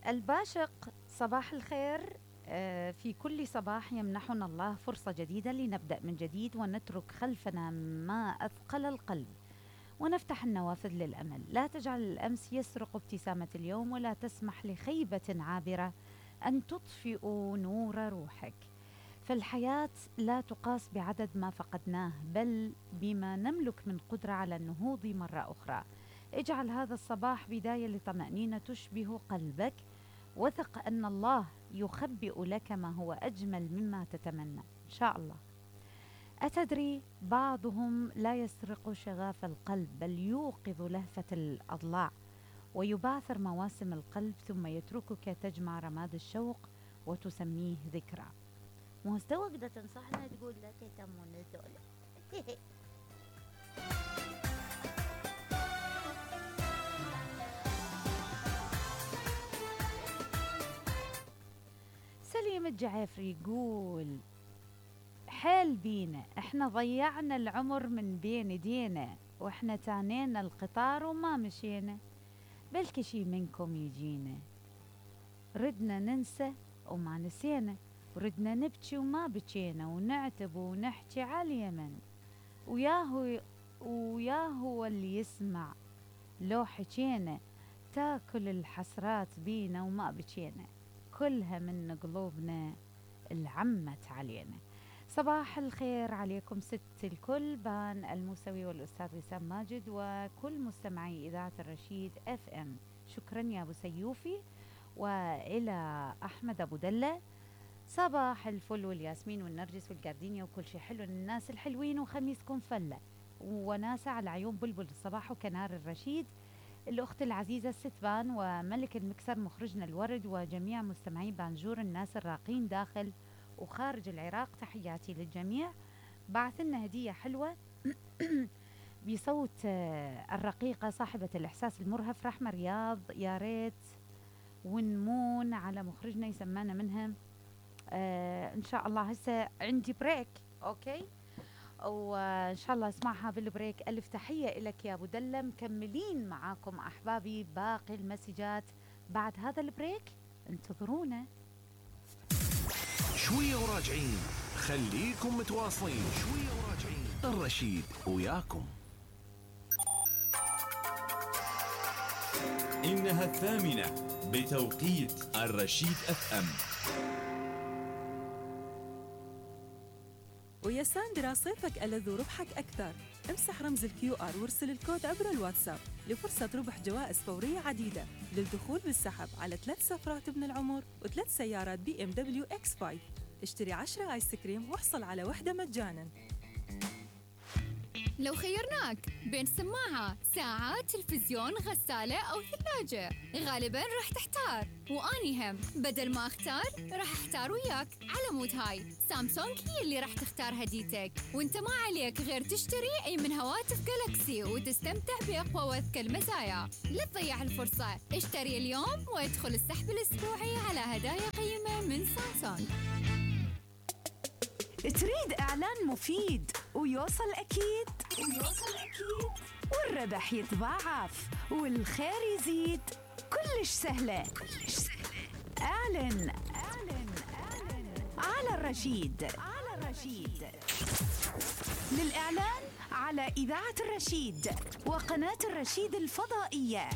الباشق صباح الخير. في كل صباح يمنحنا الله فرصة جديدة لنبدأ من جديد ونترك خلفنا ما أثقل القلب ونفتح النوافذ للأمل. لا تجعل الأمس يسرق ابتسامة اليوم، ولا تسمح لخيبة عابرة أن تطفئ نور روحك. فالحياة لا تقاس بعدد ما فقدناه، بل بما نملك من قدرة على النهوض مرة أخرى. اجعل هذا الصباح بداية لطمأنينة تشبه قلبك، وثق أن الله يخبئ لك ما هو أجمل مما تتمنى إن شاء الله. أتدري بعضهم لا يسرق شغاف القلب، بل يوقظ لهفة الأضلاع ويبعثر مواسم القلب، ثم يتركك تجمع رماد الشوق وتسميه ذكرى. مستوى تنصحنا تقول لا تهتمون الدولة. سليم الجعافري يقول حال بينا، احنا ضيعنا العمر من بين ايدينا، واحنا تانينا القطار وما مشينا، بلكي شي منكم يجينا. ردنا ننسى وما نسينا، وردنا نبكي وما بكينا، ونعتب ونحكي على اليمن، وياهو اللي يسمع لو حكينا، تاكل الحسرات بينا وما بكينا، كلها من قلوبنا العمت علينا. صباح الخير عليكم ست الكل، بان الموسوي والأستاذ وسام ماجد وكل مستمعي إذاعة الرشيد FM. شكرا يا أبو سيوفي. وإلى أحمد أبو دلة، صباح الفل والياسمين والنرجس والجاردينيا وكل شيء حلو للناس الحلوين، وخميسكم فلة وناسة على عيون بلبل الصباح وكنار الرشيد، الأخت العزيزة الستبان وملك المكسر مخرجنا الورد، وجميع مستمعي بانجور، الناس الراقين داخل وخارج العراق، تحياتي للجميع. بعثلنا هدية حلوة بصوت الرقيقة صاحبة الإحساس المرهف رحمة رياض، يا ريت ونمون على مخرجنا يسمانا منها إن شاء الله. هسه عندي بريك أوكي، وإن شاء الله اسمعها بالبريك. ألف تحية لك يا أبو دلة. مكملين معاكم أحبابي باقي المسجات بعد هذا البريك، انتظرونا شوية وراجعين. خليكم متواصلين، شوية وراجعين، الرشيد وياكم. إنها 8 بتوقيت الرشيد FM. ويا ساندرا صيفك ألذ وربحك أكثر. امسح رمز الQR وارسل الكود عبر الواتساب لفرصة ربح جوائز فورية عديدة للدخول بالسحب على 3 سفرات ابن العمر و3 سيارات BMW X5. اشتري 10 آيس كريم واحصل على واحدة مجانا. لو خيرناك بين سماعة، ساعة، تلفزيون، غسالة أو ثلاجة، غالباً راح تحتار، وأني هم بدل ما أختار راح أحتار وياك. على مود هاي سامسونج هي اللي راح تختار هديتك، وانت ما عليك غير تشتري أي من هواتف جالكسي وتستمتع بأقوى وأذكى المزايا. لا تضيع الفرصة، اشتري اليوم وادخل السحب الأسبوعي على هدايا قيمة من سامسونج. تريد إعلان مفيد ويوصل أكيد والربح يتضاعف والخير يزيد، كلش سهلة. اعلن على الرشيد. للإعلان على إذاعة الرشيد وقناة الرشيد الفضائية